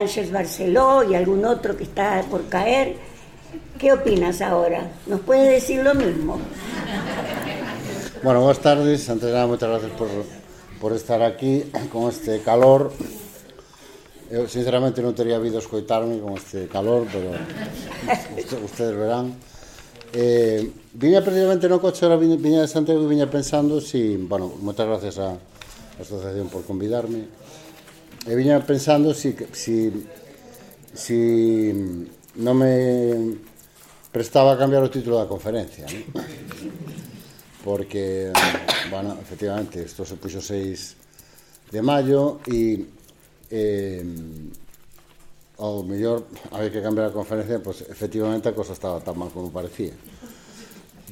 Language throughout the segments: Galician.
Ángeles Barceló y algún otro que está por caer. ¿Qué opinas ahora? ¿Nos puedes decir lo mismo? Bueno, buenas tardes. Antes de nada, muchas gracias por estar aquí con este calor. Eu, sinceramente, non teria habido escoitarme con este calor, pero ustedes verán. Viña precisamente no coche, ahora viña de Santiago e viña pensando si... Bueno, moitas gracias á asociación por convidarme. E viña pensando si non me prestaba a cambiar o título da conferencia, ¿no? Porque, bueno, efectivamente, isto se puxo 6 de maio e ao mellor había que cambiar a conferencia, pues efectivamente a cosa estaba tan mal como parecía.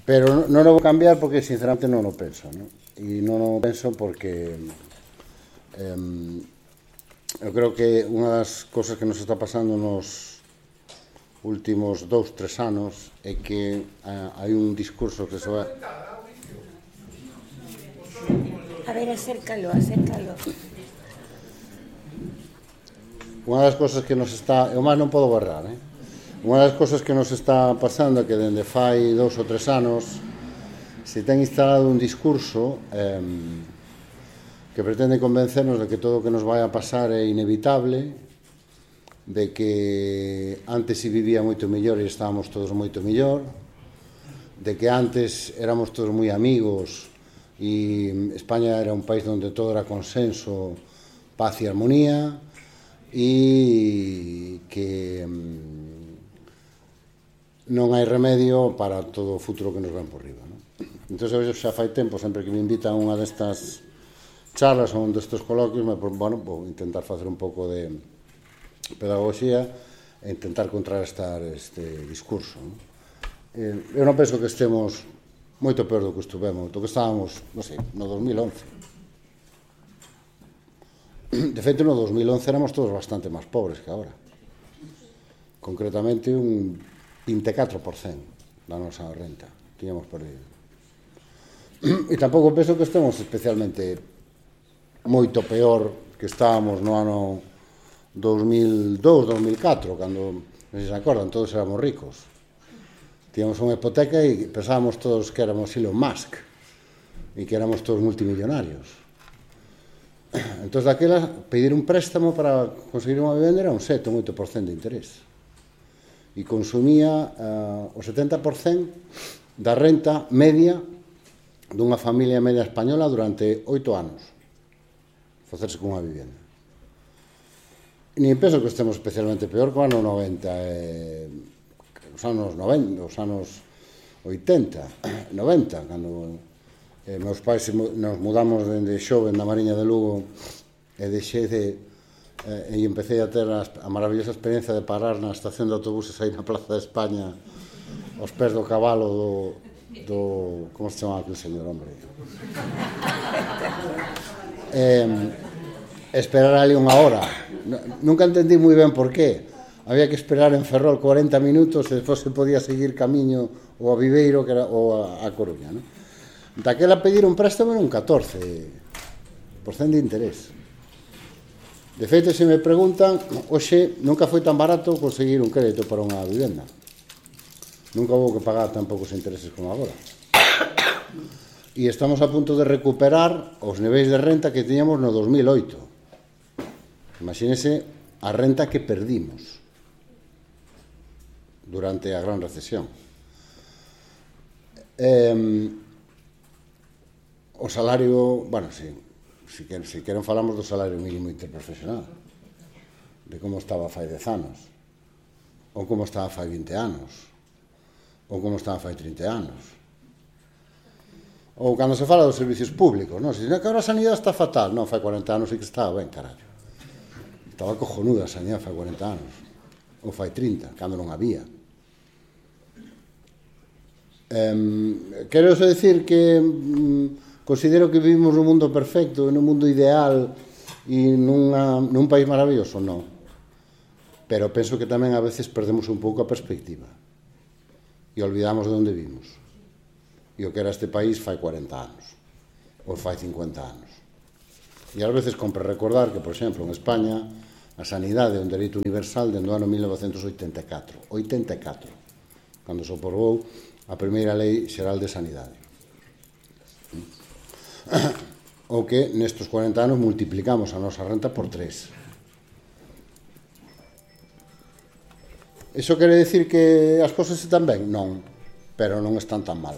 Pero non o vou cambiar porque sinceramente non o penso, ¿no? E non o penso porque eu creo que unha das cosas que nos está pasando nos últimos 2-3 anos é que hai un discurso que se vai... A ver, acércalo. Unha das cosas que nos está... Eu máis non podo barrar, Unha das cosas que nos está pasando é que dende fai 2 ou 3 anos se ten instalado un discurso que pretende convencernos de que todo o que nos vai a pasar é inevitable, de que antes se vivía moito mellor e estábamos todos moito mellor, de que antes éramos todos moi amigos e España era un país onde todo era consenso, paz e armonía, e que non hai remedio para todo o futuro que nos ven por riba, non? Entón, xa fai tempo, sempre que me invitan a unha destas charlas ou un destes coloquios, bueno, vou intentar facer un pouco de pedagogía e intentar contrarrestar este discurso, non? Eu non penso que estemos moito peor do que estuvemos, do que estábamos, non sei, no 2011. De feito, no 2011 éramos todos bastante máis pobres que agora. Concretamente, un 24% da nosa renta tiñamos perdido. E tampouco penso que estemos especialmente moito peor que estábamos no ano 2002-2004, cando, non sei se se acordan, todos éramos ricos. Tíamos unha hipoteca e pensábamos todos que éramos Elon Musk e que éramos todos multimillonarios. Entón, daquela, pedir un préstamo para conseguir unha vivenda era un 7 ou 8% de interés. E consumía o 70% da renta media dunha familia media española durante 8 anos. Facerse con unha vivenda. Ni penso que estemos especialmente peor que o ano 90, os anos 90, os anos 80, 90, cando meus pais nos mudamos dende xoven da Mariña de Lugo e deixei de e empecé a ter a maravillosa experiencia de parar na estación de autobuses aí na Plaza de España aos pés do cabalo do como se chamaba aquel señor, hombre? Esperar ali unha hora. Nunca entendí moi ben por qué. Había que esperar en Ferrol 40 minutos e despois se podía seguir camiño ou a Viveiro ou a Coruña, non? Daquela pedir un préstamo era un 14% de interés. De feito, se me preguntan, hoxe nunca foi tan barato conseguir un crédito para unha vivenda. Nunca houve que pagar tan poucos intereses como agora. E estamos a punto de recuperar os niveis de renta que tiñamos no 2008. Imagínese a renta que perdimos durante a gran recesión. O salario, bueno, si queren falamos do salario mínimo interprofesional, de como estaba fai 10 anos, ou como estaba fai 20 anos, ou como estaba fai 30 anos. Ou cando se fala dos servicios públicos, non? Se dice que agora a sanidade está fatal, non, fai 40 anos e que estaba ben, carallo. Estaba cojonuda a sanidade fai 40 anos, ou fai 30, cando non había. Quero decir que considero que vivimos nun mundo perfecto, nun mundo ideal e nun país maravilloso, non. Pero penso que tamén a veces perdemos un pouco a perspectiva e olvidamos de onde vimos e o que era este país fai 40 anos ou fai 50 anos. E ás veces compre recordar que, por exemplo, en España A sanidade é un dereito universal dende o ano 1984. 84, cando se aprobou a primeira Lei Xeral de Sanidade. O que nestes 40 anos multiplicamos a nosa renta por 3. Iso quere dicir que as cousas están ben? Non, pero non están tan mal.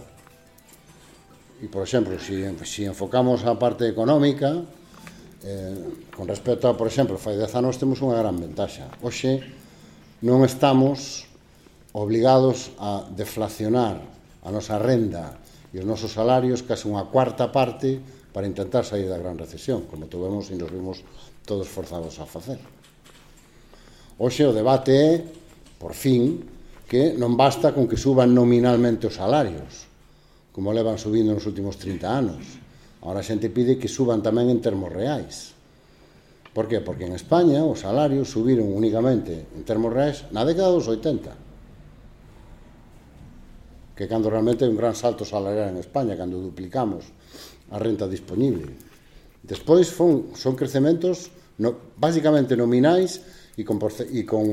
E, por exemplo, se enfocamos a parte económica, con respecto a, por exemplo, fai 10 anos temos unha gran ventaxa. Hoxe non estamos obligados a deflacionar a nosa renda e os nosos salarios case unha cuarta parte para intentar sair da gran recesión, como tuvemos e nos vimos todos forzados a facer. Hoxe o debate é, por fin, que non basta con que suban nominalmente os salarios, como levan subindo nos últimos 30 anos. Agora a xente pide que suban tamén en termos reais. Por qué? Porque en España os salarios subiron únicamente en termos reais na década dos 80, que cando realmente é un gran salto salarial en España, cando duplicamos a renta disponible. Despois son crecementos basicamente nominais e con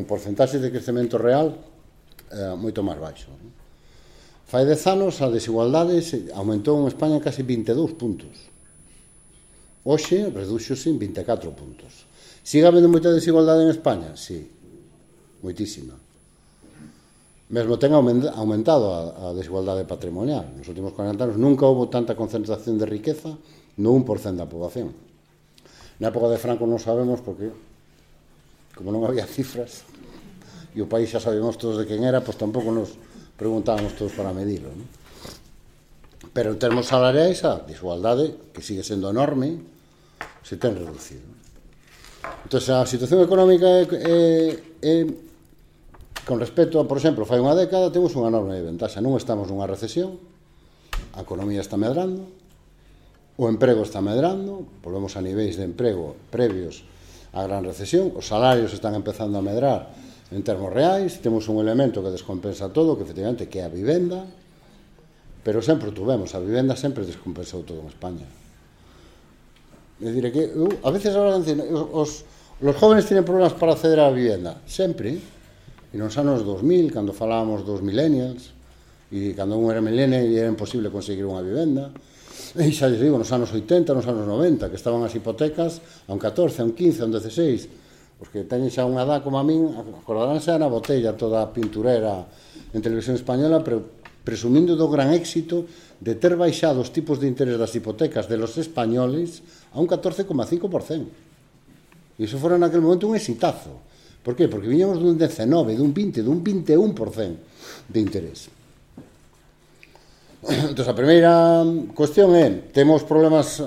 porcentaxes de crecemento real moito máis baixo. Fai 10 anos a desigualdade aumentou en España casi 22 puntos. Hoxe reduxose en 24 puntos. Sigue habendo moita desigualdade en España? Sí, moitísima. Mesmo ten aumentado a desigualdade patrimonial. Nos últimos 40 anos nunca houve tanta concentración de riqueza no 1% da poboación. Na época de Franco non sabemos porque, como non había cifras, e o país xa sabíamos todos de quen era, pois tampouco nos preguntábamos todos para medirlo, ¿no? Pero en termos salariais a desigualdade, que sigue sendo enorme, se ten reducido. Entón, a situación económica con respecto a, por exemplo, fai unha década temos unha enorme ventaxa. Non estamos nunha recesión, a economía está medrando, o emprego está medrando, volvemos a niveis de emprego previos á gran recesión, os salarios están empezando a medrar en termos reais, temos un elemento que descompensa todo, que efectivamente que é a vivenda, pero sempre tuvemos, a vivenda sempre descompensou todo en España. É dicir, que a veces ahora dicen, os jóvenes tienen problemas para acceder á vivenda, sempre, e nos anos 2000, cando falábamos dos millennials, e cando un era millennial e era imposible conseguir unha vivenda, e xa lles digo, nos anos 80, nos anos 90, que estaban as hipotecas a un 14, a un 15, a un 16, os que teñen xa unha edad como a min, acordaránse na botella toda a pinturera en televisión española, presumindo do gran éxito de ter baixado os tipos de interés das hipotecas de los españoles a un 14,5%. E iso fora naquele momento un exitazo. Por qué? Porque viñamos dun 19, dun 20, dun 21% de interés. Entón, a primeira cuestión é, temos problemas,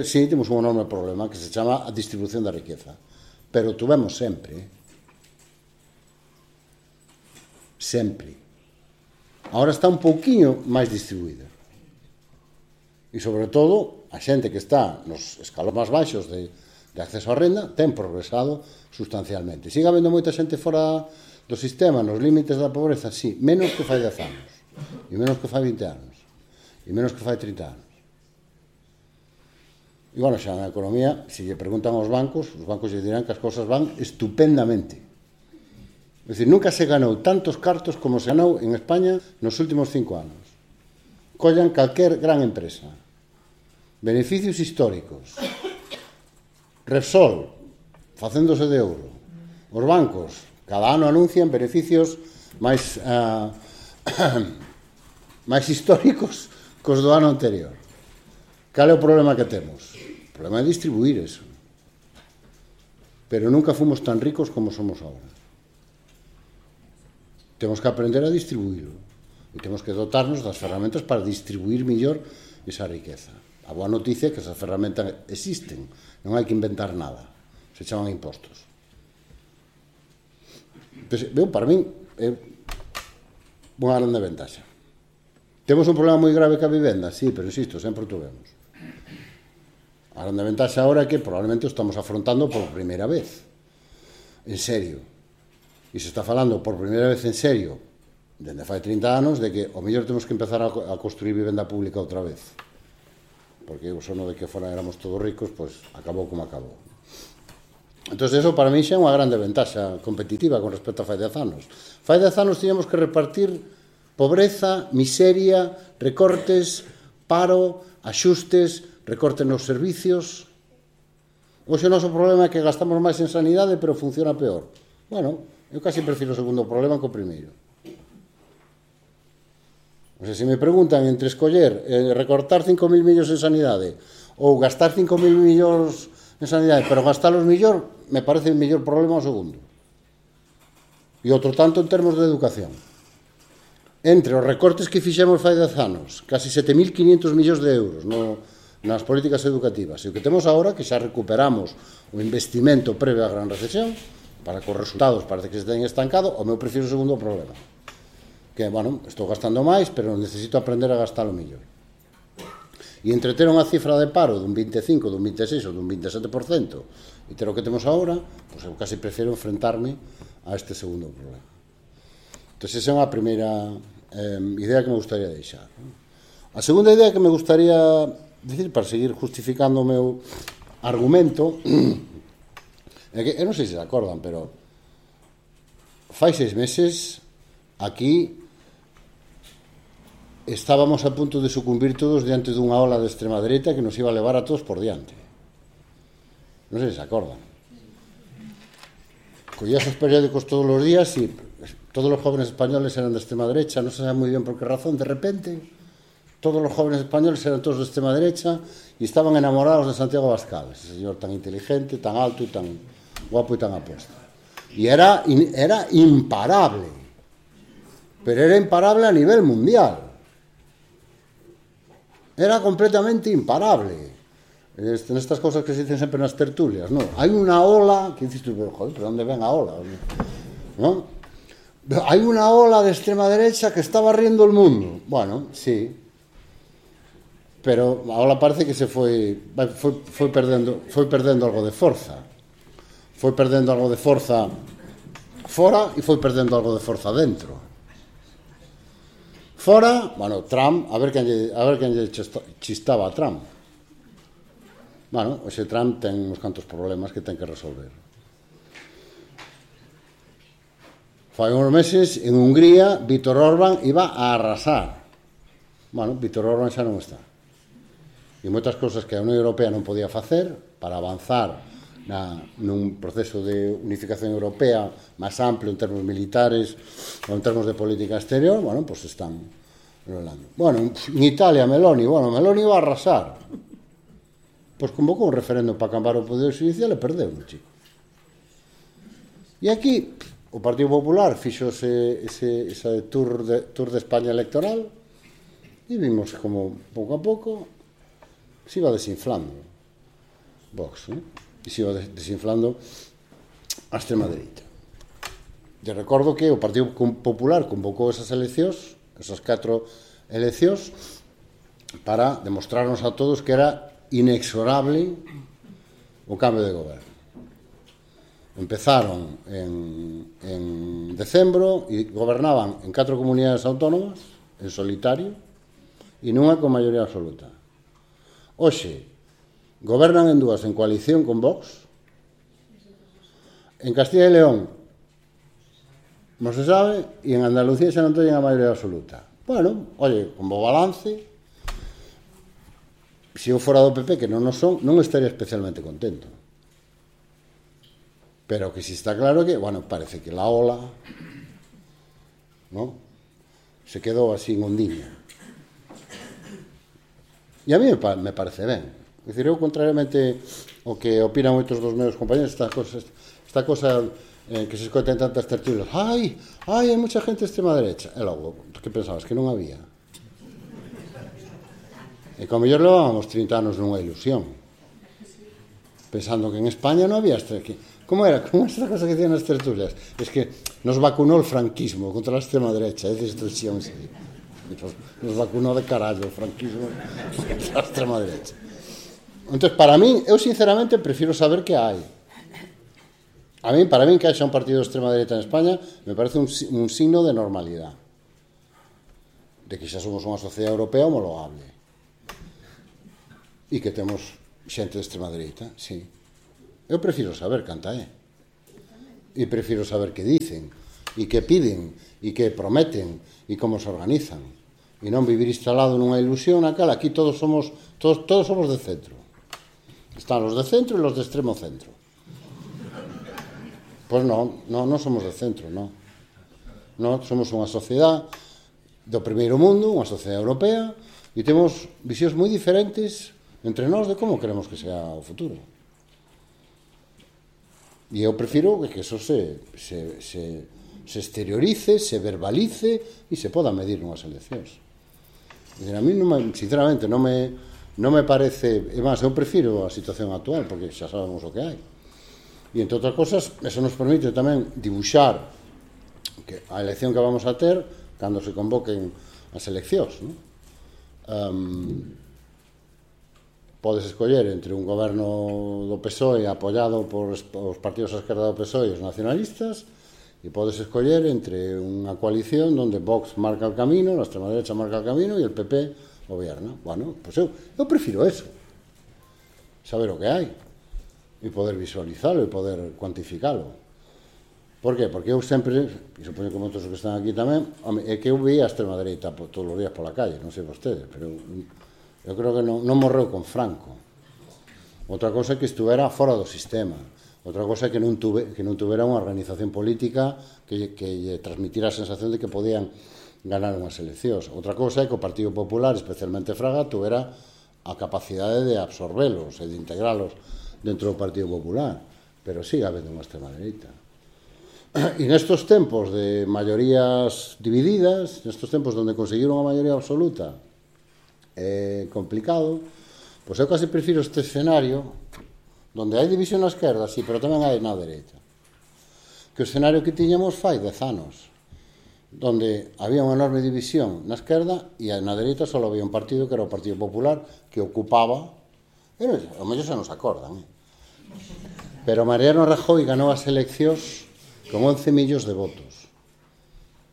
sí, temos un enorme problema que se chama a distribución da riqueza. Pero tuvemos sempre. Sempre. Agora está un pouquiño máis distribuída. E, sobre todo, a xente que está nos escalóns máis baixos de acceso á renda ten progresado sustancialmente. Sigue habendo moita xente fora do sistema, nos límites da pobreza, sí, menos que fai 10 anos, e menos que fai 20 anos, e menos que fai 30 anos. E, bueno, xa na economía, se lle preguntan aos bancos lle dirán que as cousas van estupendamente. É dicir, nunca se ganou tantos cartos como se ganou en España nos últimos 5 anos. Collan calquer gran empresa. Beneficios históricos. Repsol, facéndose de ouro. Os bancos, cada ano anuncian beneficios máis históricos cos do ano anterior. Cal é o problema que temos? O problema é distribuir eso. Pero nunca fomos tan ricos como somos agora. Temos que aprender a distribuirlo. E temos que dotarnos das ferramentas para distribuir mellor esa riqueza. A boa noticia é que esas ferramentas existen. Non hai que inventar nada. Se chaman impostos. Para min, é unha grande ventaxa. Temos un problema moi grave ca vivenda? Sí, pero insisto, sempre o tuvemos. A grande ventaxa agora é que probablemente o estamos afrontando por primeira vez. En serio. E se está falando por primeira vez en serio, dende fai 30 anos, de que o mellor temos que empezar a construir vivenda pública outra vez. Porque o sono de que fora éramos todos ricos, pois acabou como acabou. Entón, eso para mí xa é unha grande ventaxa competitiva con respecto a fai 10 anos. Fai 10 anos tiñamos que repartir pobreza, miseria, recortes, paro, axustes, recortes nos servicios. Hoxe o noso problema é que gastamos máis en sanidade, pero funciona peor. Bueno, eu casi prefiro o segundo problema que o primeiro. O sea, se me preguntan entre escoller recortar 5.000 millóns en sanidade ou gastar 5.000 millóns en sanidade, pero gastalos millor, me parece o mellor problema o segundo. E outro tanto en termos de educación. Entre os recortes que fixemos fai 10 anos, casi 7.500 millóns de euros nas políticas educativas, e o que temos agora, que xa recuperamos o investimento previo á gran recesión, para que os resultados parece que se teñen estancado, o meu prefiro o segundo problema. Que, bueno, estou gastando máis, pero necesito aprender a gastalo mellor. E entre ter unha cifra de paro dun 25, dun 26 ou dun 27%, e ter o que temos agora, pois eu casi prefiro enfrentarme a este segundo problema. Entón, esa é unha primeira idea que me gustaría deixar. A segunda idea que me gustaría dicir, para seguir justificando o meu argumento, é que, eu non sei se se acordan, pero fai 6 meses aquí estábamos a punto de sucumbir todos diante dunha ola de extrema dereita que nos iba a levar a todos por diante. Non sei se se acordan. Collías os periódicos todos os días e todos os jóvenes españoles eran de extrema derecha, non se sabe moi ben por que razón, de repente todos os jóvenes españoles eran todos de extrema derecha e estaban enamorados de Santiago Abascal, ese señor tan inteligente, tan alto e tan guapo e tan apuesto. E era imparable, pero era imparable a nivel mundial. Era completamente imparable. Nestas cosas que se dicen sempre nas tertulias, ¿no? Hai unha ola, que dices tú, joder, pero onde ven a ola? ¿No? Hai unha ola de extrema derecha que está barriendo o mundo. Bueno, sí. Pero a ola parece que se foi perdendo algo de forza. Foi perdendo algo de forza fora e foi perdendo algo de forza dentro. Fora, bueno, Trump, a ver quen lle chistaba a Trump. Bueno, ese Trump ten uns cantos problemas que ten que resolver. Fai uns meses, en Hungría, Vítor Orbán iba a arrasar. Bueno, Vítor Orbán xa non está. E moitas cousas que a Unión Europea non podía facer para avanzar nun proceso de unificación europea máis amplio en termos militares ou en termos de política exterior, bueno, pues están rolando. Bueno, en Italia, Meloni iba a arrasar. Pois convocou un referendo para cambiar o poder xudicial e perdeu, chico. E aquí o Partido Popular fixo ese tour de España electoral e vimos como pouco a pouco se iba desinflando Vox, ¿no? E se iba desinflando a extrema dereita. Te recordo que o Partido Popular convocou esas eleccións, esas 4 eleccións, para demostrarnos a todos que era inexorable o cambio de goberno. Empezaron en decembro e gobernaban en 4 comunidades autónomas, en solitario, e nunha con maioría absoluta. Hoxe, gobernan en 2 en coalición con Vox. En Castilla e León non se sabe, e en Andalucía xa non teñen a maioría absoluta. Bueno, oye, como balance, se eu fora do PP, que non o son, non estaría especialmente contento. Pero que si está claro que, bueno, parece que la ola, ¿no?, se quedou así en ondiña. E a mí me parece ben. É dicir, eu, contrariamente ao que opinan moitos dos meus compañeros, esta cosa que se escoita en tantas tertulias, hai moita gente de extrema derecha. E logo, que pensabas? Que non había. E como mellor levábamos 30 anos nunha ilusión, pensando que en España non había como era esta cosa que dicían nas tertulias? Es que nos vacunó el franquismo contra la extrema derecha, es destrucción, sí. Nos vacunó de carallo o franquismo contra a extrema derecha. Entón, para mí, eu sinceramente prefiro saber que hai. Para mí que haxa un partido de extrema derecha en España me parece un signo de normalidade, de que xa somos unha sociedade europea homologable e que temos xente de extrema derecha, sí. Eu prefiro saber canta é. E prefiro saber que dicen, e que piden, e que prometen, e como se organizan. E non vivir instalado nunha ilusión na cal aquí todos somos de centro. Están os de centro e os de extremo centro. Pois non somos de centro, non. Non, somos unha sociedade do primeiro mundo, unha sociedade europea, e temos visións moi diferentes entre nós de como queremos que sea o futuro. E eu prefiro que eso se exteriorice, se verbalice e se poda medir nunhas eleccións. A mí, sinceramente, non me parece... E máis, eu prefiro a situación actual, porque xa sabemos o que hai. E, entre outras cosas, eso nos permite tamén dibuixar que a elección que vamos a ter cando se convoquen as eleccións, non? Podes escoller entre un goberno do PSOE apoiado por os partidos a esquerda do PSOE e os nacionalistas, e podes escoller entre unha coalición onde Vox marca el camino, la extrema derecha marca el camino e el PP gobierna. Bueno, pues eu prefiro eso, saber o que hai e poder visualizalo e poder cuantificalo. Por qué? Porque eu sempre, e supoño que moitos que están aquí tamén, é que eu veía a extrema derecha todos os días pola calle, non sei vostedes, pero eu creo que non morreu con Franco. Outra cosa é que estuvera fora do sistema. Outra cosa é que non tuvera unha organización política que lle transmitira a sensación de que podían ganar unhas eleccións. Outra cosa é que o Partido Popular, especialmente Fraga, tuvera a capacidade de absorbelos e de integralos dentro do Partido Popular. Pero sigue habendo unha extrema dereita. E nestos tempos de maiorías divididas, nestos tempos onde conseguir unha maioría absoluta é complicado, pois eu casi prefiro este escenario onde hai división na esquerda, sí, pero tamén hai na dereita, que o escenario que tiñamos fai 10 anos, onde había unha enorme división na esquerda e na dereita só había un partido que era o Partido Popular que ocupaba, o mellor xa non se acordan, pero Mariano Rajoy ganou as eleccións con 11 millóns de votos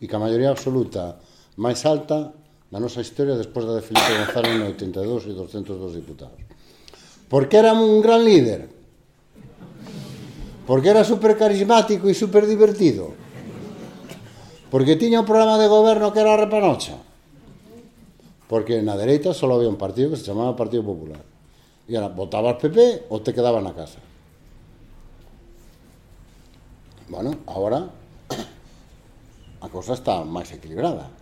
e que a maioría absoluta máis alta na nosa historia despois da de Felipe González no 82 e 202 diputados. Por que era un gran líder? Porque era super carismático e super divertido? Porque tiña un programa de goberno que era a repanocha? Porque na dereita só había un partido que se chamaba Partido Popular. E era, votabas PP ou te quedabas na casa. Bueno, agora a cosa está máis equilibrada.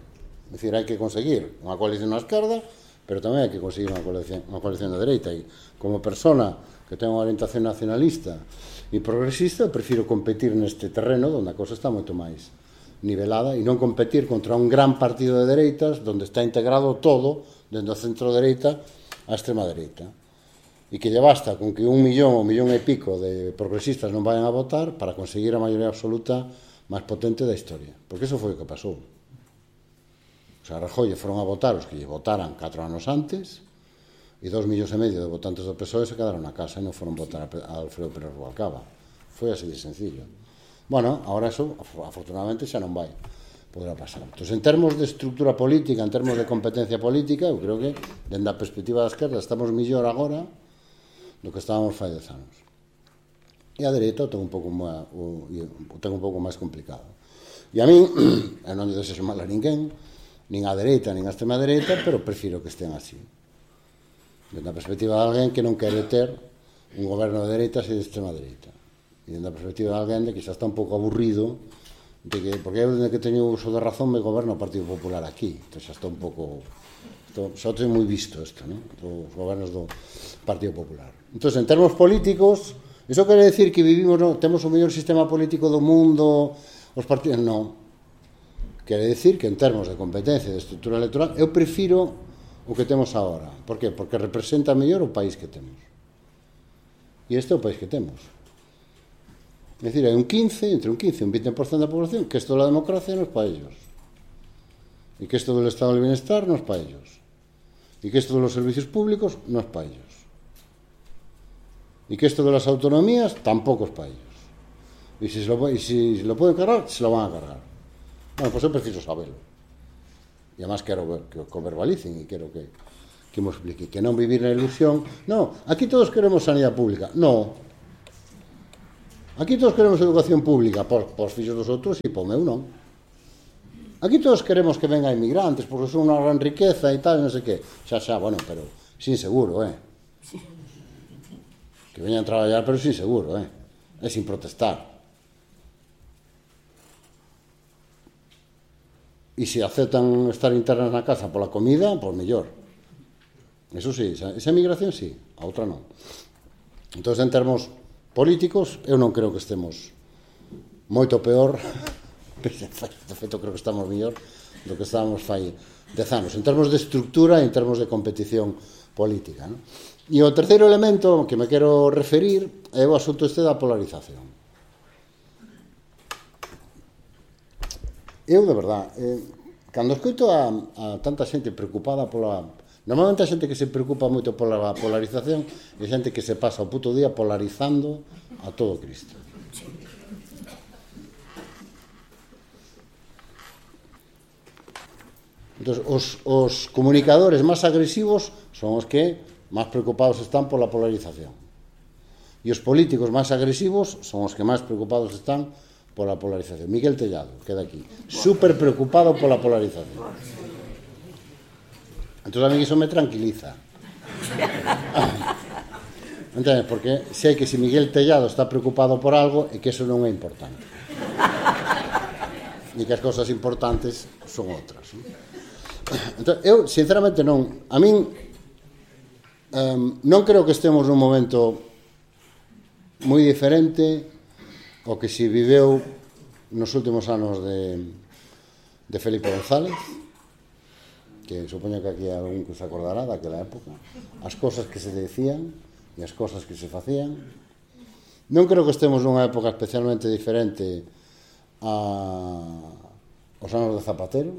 É dicir, hai que conseguir unha coalición na esquerda, pero tamén hai que conseguir unha coalición na dereita. E como persona que ten unha orientación nacionalista e progresista, prefiro competir neste terreno onde a cosa está moito máis nivelada e non competir contra un gran partido de dereitas onde está integrado todo, dentro do centro-dereita a extrema-dereita. E que lle basta con que 1 millón ou 1 millón e pico de progresistas non vayan a votar para conseguir a maioría absoluta máis potente da historia. Porque iso foi o que pasou. O sea, a Rajoy foron a votar os que lle votaran 4 anos antes e 2,5 millóns de votantes do PSOE se quedaron na casa e non foron votar a Alfredo Pérez Rubalcaba. Foi así de sencillo. Bueno, agora eso, afortunadamente, xa non vai poder pasar. Entón, en termos de estructura política, en termos de competencia política, eu creo que, dende a perspectiva da esquerda, estamos mellor agora do que estábamos fai 10 anos. E a dereita o ten un pouco máis complicado. E a min, eu non lle desexo mal a ninguén, nin a dereita, nin a extrema dereita, pero prefiro que estén así. Dende a perspectiva de alguén que non quere ter un goberno de dereitas e de extrema dereita. E dende a perspectiva de alguén de que xa está un pouco aburrido, de que, porque eu dende que teño uso de razón me goberno o Partido Popular aquí. Entón xa está un pouco... Xa teño moi visto isto, non? Os gobernos do Partido Popular. Entón, en termos políticos, iso quere decir que vivimos, temos o mellor sistema político do mundo, os partidos... Non. Quere decir que en termos de competencia e de estrutura electoral eu prefiro o que temos agora. Por qué? Porque representa mellor o país que temos. E este é o país que temos. É dicir, hai entre un 15 e un 20% da población que isto da democracia non é para ellos. E que isto do estado del bienestar non é para ellos. E que isto dos servicios públicos non é para ellos. E que isto de las autonomías tampouco é para ellos. E se lo pueden cargar, se lo van a cargar. Bueno, pois eu preciso sabelo. E además quero que o verbalicen e quero que me explique. Que non vivir na ilusión. Non, aquí todos queremos sanidade pública. Non. Aquí todos queremos educación pública, pos fixos dos outros e po meu non. Aquí todos queremos que vengan inmigrantes, porque son unha gran riqueza e tal, non sei que. Xa, bueno, pero sin seguro, Que veñan a traballar, pero sin seguro, E sin protestar. E se aceptan estar internas na casa pola comida, pois mellor. Eso sí, esa migración sí, a outra non. Entón, en termos políticos, eu non creo que estemos moito peor, de feito creo que estamos mellor do que estábamos fai 10 anos, en termos de estructura e en termos de competición política, non? E o terceiro elemento que me quero referir é o asunto este da polarización. Eu, de verdad, cando escoito a tanta xente preocupada pola... Normalmente a xente que se preocupa moito pola polarización é xente que se pasa o puto día polarizando a todo Cristo. Entón, os comunicadores máis agresivos son os que máis preocupados están pola polarización. E os políticos máis agresivos son os que máis preocupados están pola polarización. Miguel Tellado, queda aquí, super preocupado pola polarización. Entón a mí iso me tranquiliza. Entendes? Porque sei que se Miguel Tellado está preocupado por algo é que eso non é importante. E que as cousas importantes son outras. Entón, eu, sinceramente, non... A min non creo que estemos nun momento moi diferente ao que se viveu nos últimos anos de Felipe González, que supoño que aquí hai algún que se acordará daquela época, as cosas que se decían e as cosas que se facían. Non creo que estemos nunha época especialmente diferente aos anos de Zapatero,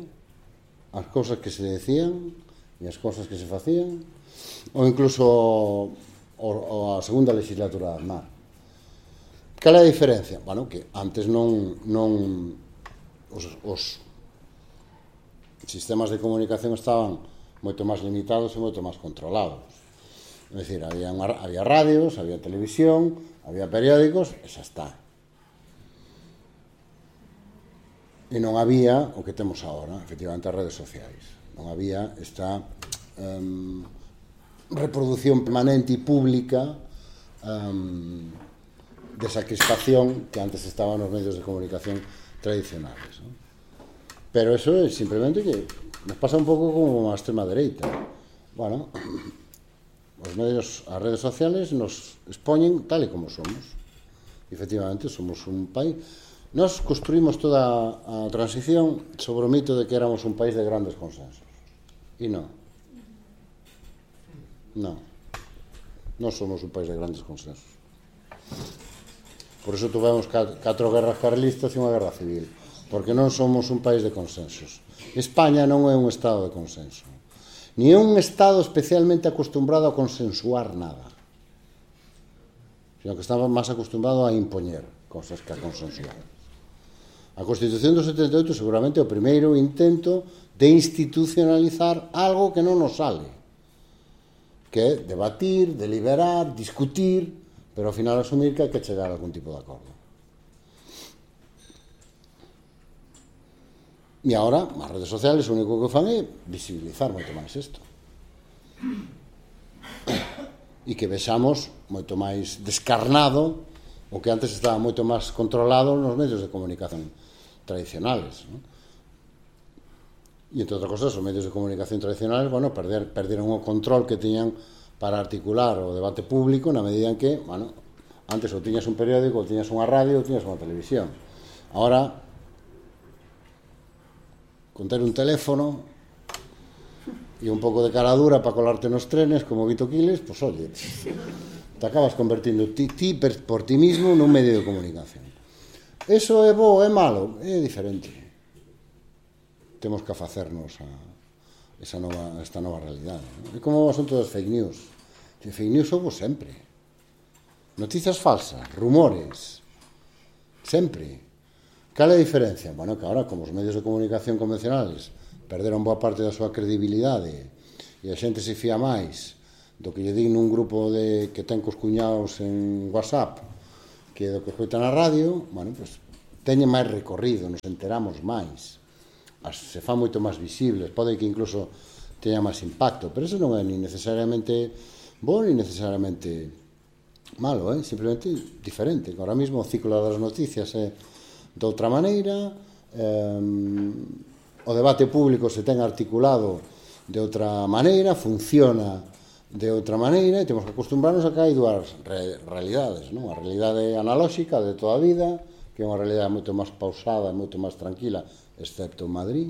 as cosas que se decían e as cosas que se facían, ou incluso a segunda legislatura de Aznar. Cal é a diferencia? Bueno, que antes non os sistemas de comunicación estaban moito máis limitados e moito máis controlados. É dicir, había radios, había televisión, había periódicos, e xa está. E non había o que temos agora, efectivamente, as redes sociais. Non había esta reproducción permanente e pública desa crispación que antes estaba nos medios de comunicación tradicionales, non? Pero eso é simplemente que nos pasa un pouco como a extrema dereita. Bueno, os medios, as redes sociales nos expoñen tal e como somos. Efectivamente, somos un país... Nos construímos toda a transición sobre o mito de que éramos un país de grandes consensos. E non. Non. Non somos un país de grandes consensos. Por iso tuvemos 4 guerras carlistas e unha guerra civil. Porque non somos un país de consensos. España non é un estado de consenso. Ni é un estado especialmente acostumbrado a consensuar nada. Sino que estaba máis acostumbrado a impoñer cosas que a consensuar. A Constitución do 78 seguramente é o primeiro intento de institucionalizar algo que non nos sale. Que é debatir, deliberar, discutir, pero ao final asumir que hai que chegar a algún tipo de acordo. E agora, as redes sociales o único que fan é visibilizar moito máis isto. E que vexamos moito máis descarnado o que antes estaba moito máis controlado nos medios de comunicación tradicionales, non? E, entre outras cosas, os medios de comunicación tradicionales, bueno, perderon o control que tiñan para articular o debate público na medida en que, bueno, antes ou tiñas un periódico, ou tiñas unha radio, ou tiñas unha televisión. Agora, con ter un teléfono e un pouco de cara dura para colarte nos trenes como Vito Quiles, pois oye, te acabas convertindo ti por ti mismo nun medio de comunicación. Eso é bo, é malo? É diferente. Temos que afacernos a esta nova realidade. É como o asunto das fake news. Que fake news houve sempre. Noticias falsas, rumores, sempre. Cal é a diferencia? Bueno, que agora, como os medios de comunicación convencionales perderon boa parte da súa credibilidade e a xente se fía máis do que lle din nun grupo que ten cos cuñados en WhatsApp que do que escoita na radio, bueno, pois, teñen máis recorrido, nos enteramos máis, se fan moito máis visibles, pode que incluso teña máis impacto, pero eso non é ni necesariamente bo ni necesariamente malo, simplemente diferente. Ahora mismo o ciclo das noticias é de outra maneira, o debate público se ten articulado de outra maneira, funciona de outra maneira, e temos que acostumbrarnos a que hai dúas realidades, non? A realidade analóxica de toda a vida, que é unha realidade moito máis pausada, moito máis tranquila, excepto en Madrid,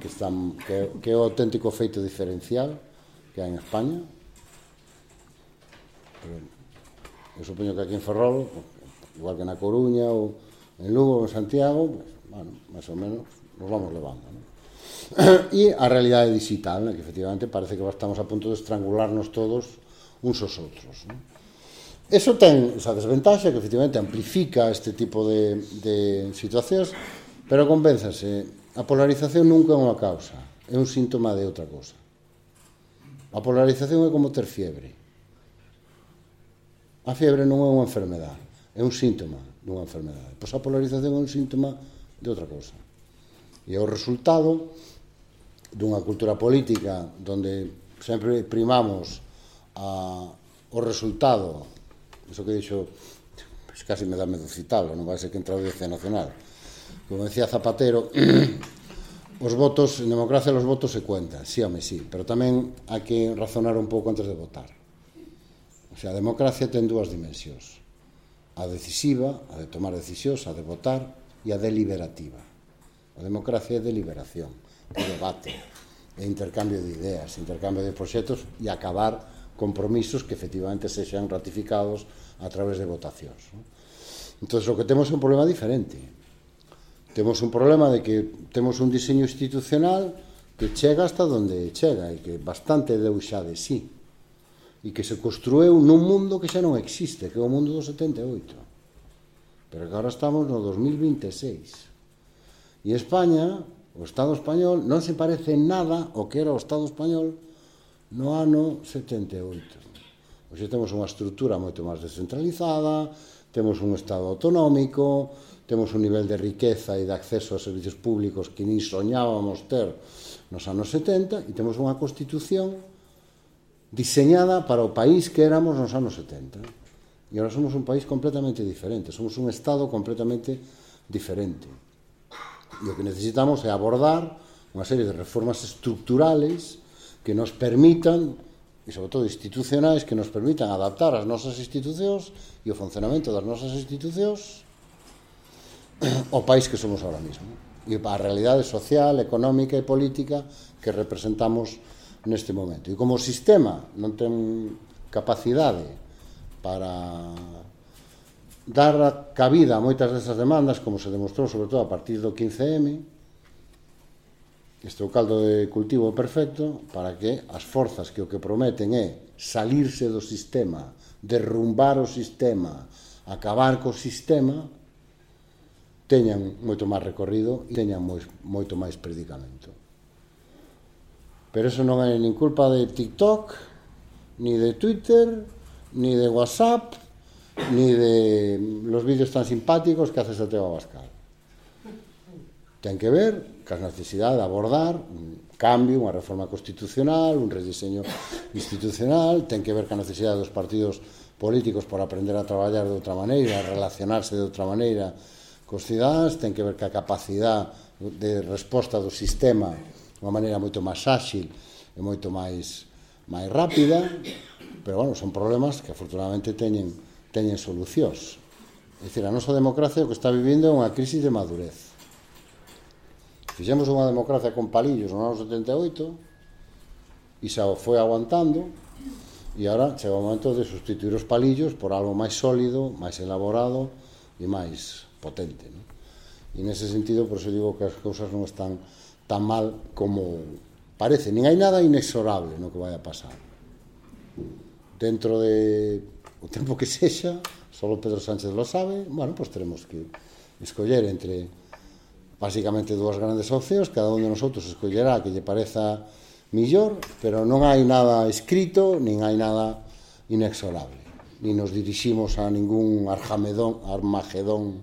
que é o auténtico feito diferencial que hai en España. Pero eu supoño que aquí en Ferrol, igual que na Coruña ou en Lugo ou en Santiago, pues, bueno, máis ou menos nos vamos levando, non? E a realidade digital, que efectivamente parece que estamos a punto de estrangularnos todos uns aos outros, non? Eso ten esa desventaxa que efectivamente amplifica este tipo de situacións, pero convénzase, a polarización nunca é unha causa, é un síntoma de outra cosa. A polarización é como ter fiebre. A fiebre non é unha enfermedade, é un síntoma dunha enfermedade. Pois a polarización é un síntoma de outra cosa. E é o resultado dunha cultura política donde sempre primamos o resultado, iso que dixo, pues casi me dá medo citarlo, non vai ser que entra a Audiencia Nacional. Como decía Zapatero, os votos, en democracia os votos se cuentan, sí, home, sí, pero tamén hai que razonar un pouco antes de votar. O sea, a democracia ten dúas dimensións, a decisiva, a de tomar decisións, a de votar, e a deliberativa. A democracia é deliberación, é debate, é intercambio de ideas, intercambio de proxectos e acabar compromisos que efectivamente sexan ratificados a través de votacións. Entón, o que temos é un problema diferente. Temos un problema de que temos un diseño institucional que chega hasta onde chega e que bastante deu xa de sí e que se construeu nun mundo que xa non existe, que é o mundo do 78, pero que agora estamos no 2026. E España, o Estado español, non se parece en nada ao que era o Estado español no ano 78. Hoxe temos unha estrutura moito máis descentralizada, temos un Estado autonómico, temos un nivel de riqueza e de acceso a servicios públicos que nin soñábamos ter nos anos 70, e temos unha Constitución diseñada para o país que éramos nos anos 70. E agora somos un país completamente diferente, somos un Estado completamente diferente. E o que necesitamos é abordar unha serie de reformas estructurales que nos permitan, e sobre todo institucionais, que nos permitan adaptar as nosas institucións e o funcionamento das nosas institucións ao país que somos ahora mismo e a realidade social, económica e política que representamos neste momento. E como o sistema non ten capacidade para dar cabida a moitas desas demandas, como se demostrou sobre todo a partir do 15M, este é o caldo de cultivo perfecto para que as forzas que o que prometen é salirse do sistema, derrumbar o sistema, acabar co sistema, teñan moito máis recorrido e teñan moito máis predicamento. Pero eso non é nin culpa de TikTok, ni de Twitter, ni de WhatsApp, ni de los vídeos tan simpáticos que hace Santiago Abascal. Ten que ver ca necesidade de abordar un cambio, unha reforma constitucional, un rediseño institucional, ten que ver ca necesidade dos partidos políticos por aprender a traballar de outra maneira, a relacionarse de outra maneira cos cidadáns, ten que ver ca capacidade de resposta do sistema de unha maneira moito máis áxil e moito máis rápida, pero, bueno, son problemas que afortunadamente teñen solucións. É dicir, a nosa democracia o que está vivindo é unha crisis de madurez. Fixemos unha democracia con palillos no ano 78 e xa o foi aguantando e agora chega o momento de sustituir os palillos por algo máis sólido, máis elaborado e máis potente, non? E nese sentido, por eso digo que as cousas non están tan mal como parece, nin hai nada inexorable no que vai a pasar. Dentro de o tempo que sexa, solo Pedro Sánchez lo sabe, bueno, pues teremos que escoller entre básicamente dúas grandes opcións, cada un de nosotros escollerá que lle pareza millor, pero non hai nada escrito, nin hai nada inexorable. ni nos diriximos a ningún Armagedón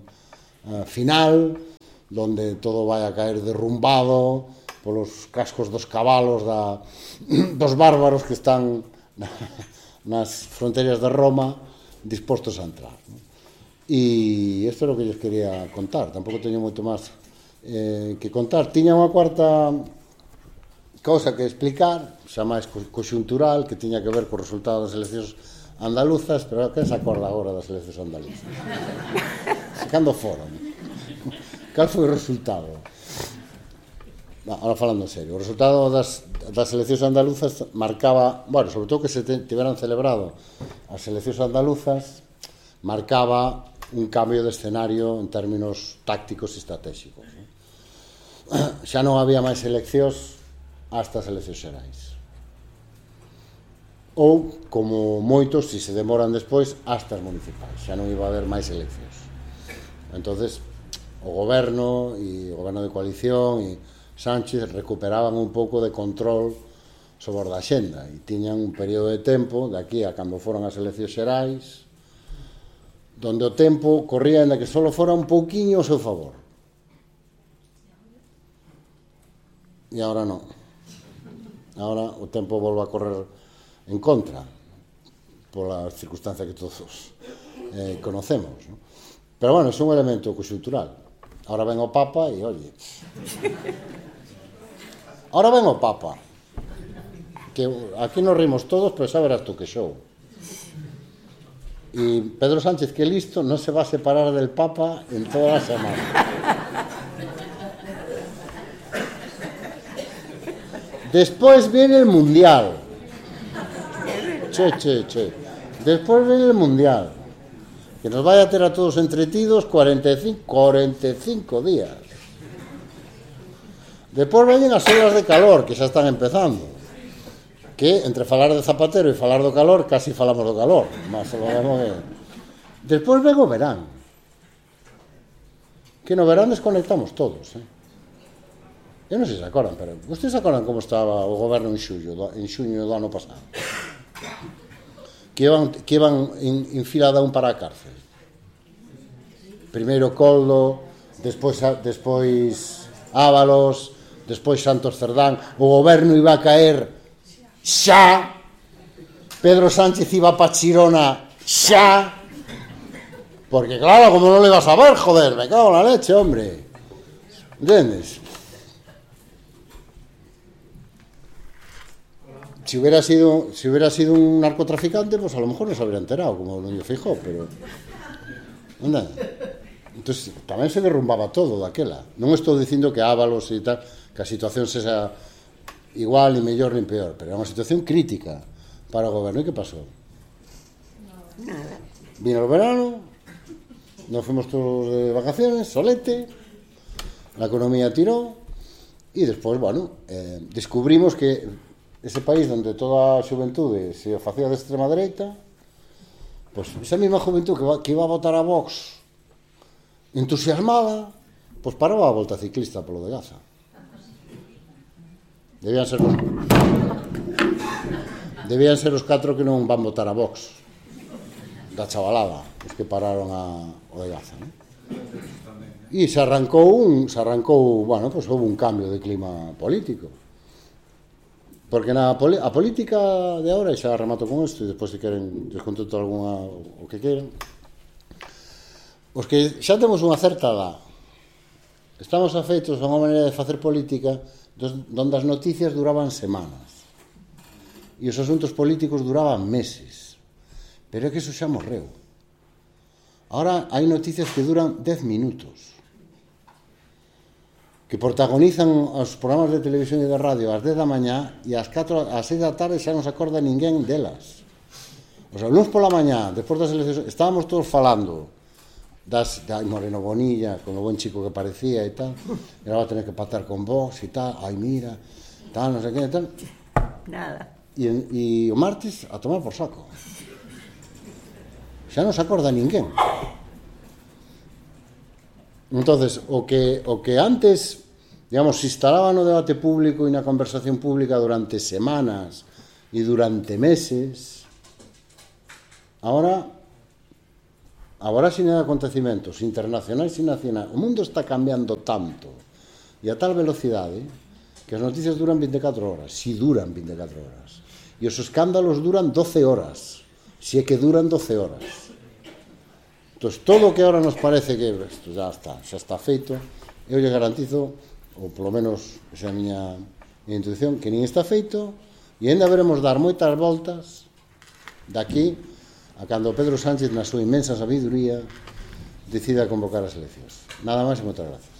final, donde todo vai a caer derrumbado polos cascos dos cabalos dos bárbaros que están nas fronteras de Roma dispostos a entrar, ¿no? E isto é o que lles quería contar. Tampouco teño moito máis que contar. Tiña unha cuarta cousa que explicar, xa máis conxuntural, que tiña que ver co resultado das eleccións andaluzas, pero que se acorda agora das eleccións andaluzas? Cando foron? Cal foi o resultado? Ahora falando en serio, o resultado das eleccións andaluzas marcaba, bueno, sobre todo que se tiveran celebrado as eleccións andaluzas, marcaba un cambio de escenario en términos tácticos e estratégicos, ¿no? Xa non había máis eleccións hasta as eleccións xerais. Ou, como moitos, se demoran despois, hasta as municipais. Xa non iba a haber máis eleccións. Entonces, o goberno de coalición e Sánchez recuperaban un pouco de control sobre a xenda e tiñan un período de tempo, de aquí a cando foron as eleccións xerais, donde o tempo corría en que só fora un pouquiño ao seu favor. E agora non. Agora o tempo volve a correr en contra pola circunstancia que todos conocemos, ¿no? Pero bueno, é un elemento conxuntural. Ahora ven o Papa e, oye, ahora ven o Papa, que aquí nos rimos todos, pero xa verás tú que show. Y Pedro Sánchez, que listo, no se va a separar del Papa en toda la semana. Después viene el Mundial. Che. Después viene el Mundial. Que nos vaya a tener a todos entretidos 45 días. Despois veñen as horas de calor, que xa están empezando. Que, entre falar de Zapatero e falar do calor, casi falamos do calor. Mas, despois ven o verán. Que no verán desconectamos todos, Eu non sei se acordan, pero vostedes se acordan como estaba o goberno en xuño do ano pasado? Que iban en fila de un para a cárcel. Primeiro Coldo, despois Ábalos, despois Santos Cerdán. O goberno iba a caer xa. Pedro Sánchez iba pa Chirona xa. Porque claro, como non le vas a ver, joder, me cago en la leche, hombre. ¿Entiendes? Si hubiera sido un narcotraficante, pues a lo mejor no se habría enterado, como Núñez Feijóo, pero... Anda. Entonces, tamén se derrumbaba todo daquela. Non estou dicindo que Ábalos e tal, que a situación sexa igual, ni mellor, ni peor, pero era unha situación crítica para o goberno. E que pasou? Nada. Vino o verano, nos fuimos todos de vacaciones, solete, la economía tirou, e despois, bueno, descubrimos que ese país donde toda a xuventude se facía de extrema dereita, pois esa mesma juventude que iba a votar a Vox entusiasmada, pois paraba a volta ciclista polo de Gaza. Debían ser os 4 que non van votar a Vox da chavalada, os que pararon o de Gaza, non? E se arrancou, bueno, pois houve un cambio de clima político. Porque a política de ahora, e xa remato con isto, e despois se queren desconteto alguna o que queren, os que xa temos unha certa edad, estamos afeitos a unha maneira de facer política donde as noticias duraban semanas e os asuntos políticos duraban meses, pero é que iso xa morreu. Ahora hai noticias que duran 10 minutos, que protagonizan os programas de televisión e de radio ás 10 da mañá e ás 6 da tarde xa non se acorda ninguén delas. O sea, luns pola mañá, despois das eleccións, estábamos todos falando de Moreno Bonilla, con o buen chico que parecía e tal, e ahora va a tener que pactar con Vox e tal, ai mira, tal, non sei que e tal. Nada. E o martes a tomar por saco. Xa non se acorda ninguén. Entonces, o que antes, digamos, se instalaba no debate público e na conversación pública durante semanas e durante meses, ahora a voráxine de acontecimentos internacionais e nacionais, o mundo está cambiando tanto e a tal velocidade que as noticias duran 24 horas, si duran 24 horas, e os escándalos duran 12 horas, si é que duran 12 horas. Entón, todo o que ahora nos parece que isto xa está feito, eu lle garantizo, ou polo menos esa é a miña intuición, que nin está feito, e ainda veremos dar moitas voltas daqui a cando Pedro Sánchez, na súa inmensa sabiduría, decida convocar as eleccións. Nada máis e moitas gracias.